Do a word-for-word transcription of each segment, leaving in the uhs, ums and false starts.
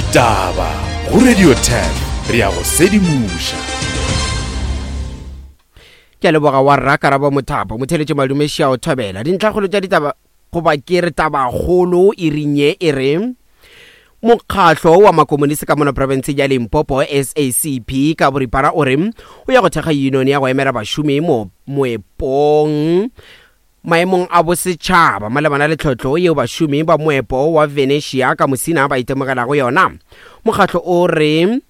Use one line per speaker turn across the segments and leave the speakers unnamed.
Ditaba go Radio ten re ya go sedimoša.
Ke a leboga wa rra Karabo Mothapo motheletše madumeši a o thobela dintlhakgolo tša ditaba goba ke re tabakgolo e ring ye e re mokgahlo wa makomonisi ka mono profenseng ya Limpopo S A C P ka boripana o re o ya go thekga union ya go emela bašomi mo moepong maemong a bosetšhaba malebana le tlhotlo yeo bašomi ba moepo wa Venetia ka Musina ba itemogelago yona. Mokgahlo o re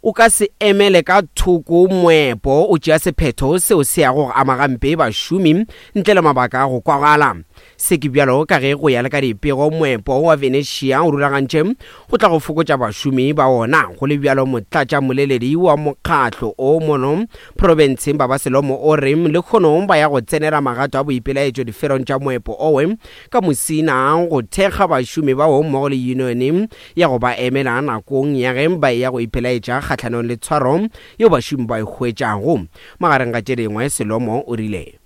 o ka se emele ka thoko moepo o tšea sephetho seo se yago go ama gampe bašomi ntle le mabaka a go kwagala. Se ke bjalo ka ge go ya le ka dipego moepo wa Venetia o rulagantše go tla go fokotša bašomi ba ona. Go le bjalo motlatša moleledi wa mokgahlo o mono profenseng Baba Selomo o re lekgono ba ya go tsenela magato a boipelaetšo diferong tša moepo owe ka Musina go thekga bašomi bao mmogo le union ya go ba emela nakong ya ge ba ya go ipelaetša kgahlanong le tshwaro yeo bašomi ba e hwetšago. Magareng ga tše dingwe Selomo o rile: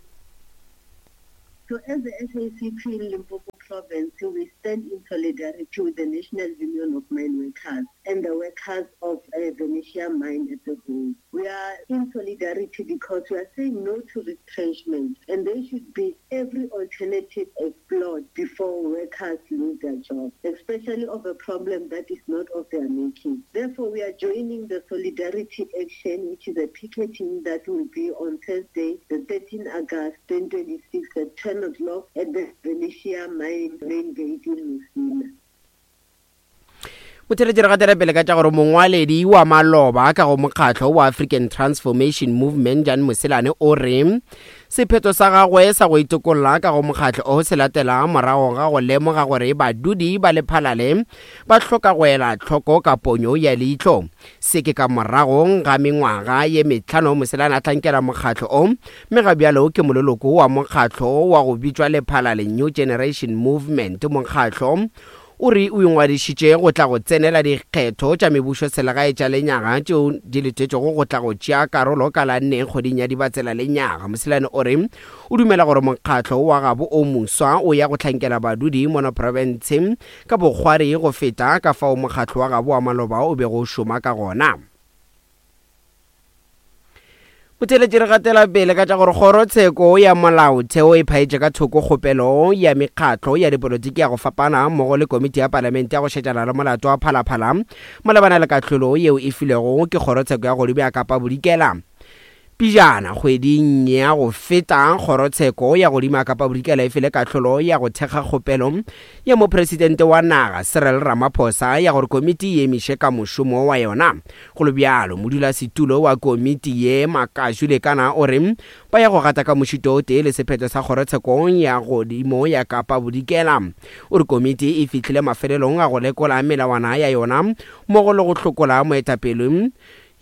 So as the S A C P in Limpopo province, we stand in solidarity with the National Union of Mine Workers and the workers of uh, Venetia Mine as a whole. We are in solidarity because we are saying no to retrenchment, and there should be every alternative explored before workers lose their jobs, especially of a problem that is not of their making. Therefore, we are joining the solidarity action, which is a picketing that will be on Thursday, the thirteenth of August, twenty twenty-six at ten o'clock at the Venetia Mine main gate in Musina.
Motheletši re gatela pele ka tša gore mongwaledi wa maloba ka go mokgatlo wa African Transformation Movement Jan Moselane o re sephetho sa gagwe sa go itokolla ka go mokgatlo o se latela morago ga go lemoga gore badudi ba Lephalale ba hloka go ela tlhoko ka ponyo ya leihlo. Se ke ka morago ga mengwaga ye mehlano Moselane a hlankela mokgatlo o, mme ga bjalo ke moleloko wa mokgatlo wa go bitšwa Lephalale New Generation Movement. Mokgatlo o re o ingwadišitše go tla go tsenela dikgetho tša mebušo selegae tša lenyaga tšeo di letetšego go tla go tšea karolo ka la nne kgweding ya Dibatsela lenyaga. Moselane o re o dumela gore mokgatlo wa gabo o moswa o ya go hlankela badudi mono profense ka bokgwari go feta ka fao mokgatlo wa gabo wa maloba o bego o šoma ka gona. Motheletši re gatela pele ka tša gore kgorotsheko ya molaotheo e phaetše ka thoko kgopelo ya mekgatlo ya dipolotiki ya go fapana mmogo le komiti ya palamente ya go šetšana le molato wa Phalaphala malebana le kahlolo yeo e filwego ke kgorotsheko ya godimo ya Kapa Bodikela. Pijana kgweding ya go feta kgorotsheko ya godimo ya Kapa Bodikela e file kahlolo ya go thekga kgopelo ya mopresidente wa naga Cyril Ramaphosa ya gore komiti e emiše ka mošomo wa yona. Go le bjalo modulasetulo wa komiti ye Makashu Lekana o re ba ya go gata ka mošito o tee le sephetho sa kgorotsheko ya godimo ya Kapa Bodikela. O re komiti e fihlile mafelelong a go lekola melawana ya yona mmogo le go hlokola moetapele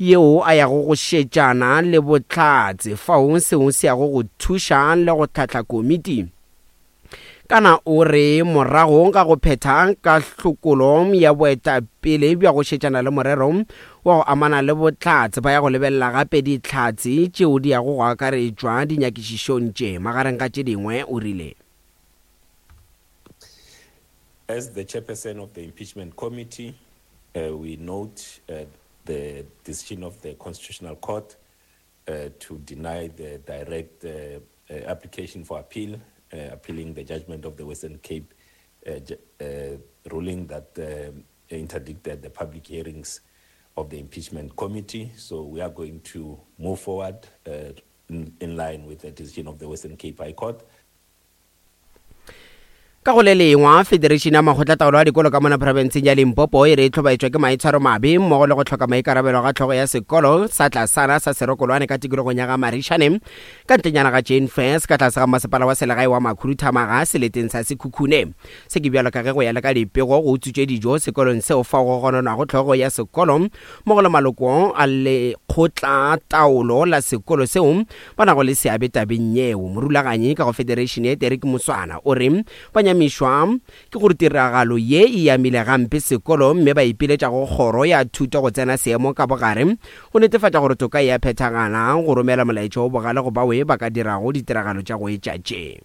yeo a yago go šetšana le bohlatse fao seo se yago go thuša le go hlahla komiti. Kana o re morago ga go phetha ka hlokolo ya boetapele bja go šetšana le morero wa go amana le bohlatse ba ya go lebelela gape dihlatse tšeo di yago go akaretšwa dinyakišišong tše. Magareng ga tše dingwe o rile:
As the chairperson of the impeachment committee, uh, we note uh, the decision of the Constitutional Court uh, to deny the direct uh, uh, application for appeal, uh, appealing the judgment of the Western Cape uh, uh, ruling that uh, interdicted the public hearings of the impeachment committee. So we are going to move forward uh, in, in line with the decision of the Western Cape High Court.
Ka go le lengwa Federation ya Makgotlataolo a Dikolo ka mona profenseng ya Limpopo e re e hlobaetšwa ke maitshwaro mabe mmogo le go hloka maikarabelo ga tlhogo ya sekolo sa tlasana sa Serokolwane ka tikologong ya ga Marishane ka ntlenyana ga Jane Furse ka tlase ga masepala wa selegae wa Makhuduthamaga seleteng sa Sekhukhune. Se ke bjalo ka ge go ya le ka dipego go utswitšwe dijo sekolong seo fao go gononwago tlhogo ya sekolo mmogo le maloko a lekgotlataolo la sekolo seo ba nago le seabe tabeng yeo. Morulaganyi ka go Federation ye Derek Moswana o re ba nyamišwa ke gore tiragalo ye e amile gampe sekolo mme ba ipiletša go kgoro ya thuto go tsena seemo ka bogare go netefatša gore toka e a phethagala go romela molaetša o bogale go bawe ba ka dirago ditiragalo tša go etša tše.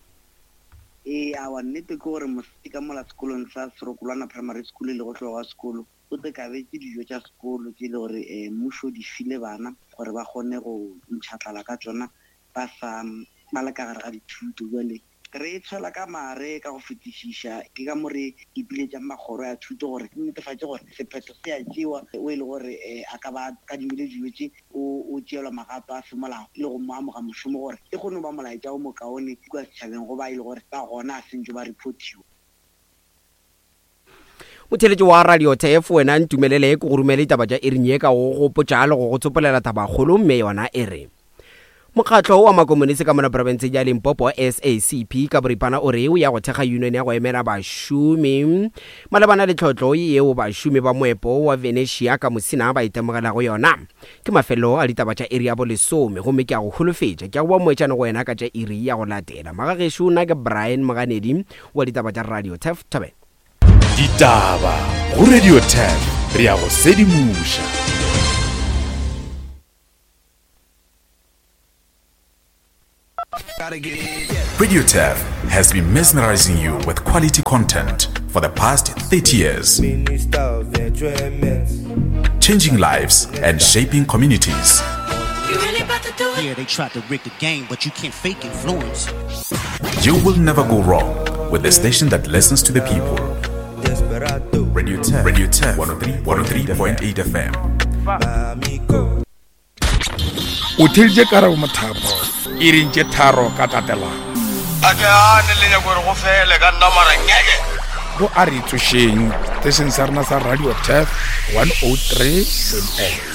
Ee, awa nnete ke gore mosadi ka mola sekolong sa Serokolwana Primary School le go hlogo wa sekolo o te kabetše dijo tša sekolo tše le gore um mmušo di file bana gore ba kgone go ntšha tlala ka tšona ba sa ba le ka gare ga dithuto. Jwale re tshwela ka mare ka go fetišiša, ke ka mo re ipiletšang makgoro ya thuto gore netefatše gore sephetho se a tšewa o e le gore um a ka ba kadimile dijo tše o o tšeelwa magato a semolao le go mo amoga mošomo gore e kgone go ba molaetša o mokaone kua setšhabeng go ba e le gore ba gona a sentše ba reportiwa.
Motheletši wa Radio T F, wena ntumelele ke go romele ditaba tša iring ye ka go gopotša le go go tsopolela tabakgolo, mme yona e re mokgatlo wa makomonisi ka mona profenseng ya Limpopo, S A C P ka boripana, o re o ya go thekga union ya go emela bašomi malebana le tlhotlo yeo bašomi ba moepo wa Venetia ka Mosina ba itemogelago yona. Ke mafelo a ditaba tša iri ya bolesome, gomme ke a go holofetša ke a go ba moetšane go wena ka tša iri ya go latela. Magagešo, nna ke Brian Moganedi wa ditaba tša Radio Tef Thobela.
Ditaba go Radio ten, re ya go sedimoša.
Radio T E F has been mesmerizing you with quality content for the past thirty years, changing lives and shaping communities.
Yeah, they tried to rig the game, but you can't fake influence.
You will never go wrong with the station that listens to the people. Radio ten, Radio ten, one oh three point eight F M.
O theeditše Karabo Mothapo iring tše tharo ka tatelano.
A ke ane le nyako gore go fele ka nna mara ngeke.
Go a re tsošeng setešeng sa rena sa Radio Tef one oh three point eight.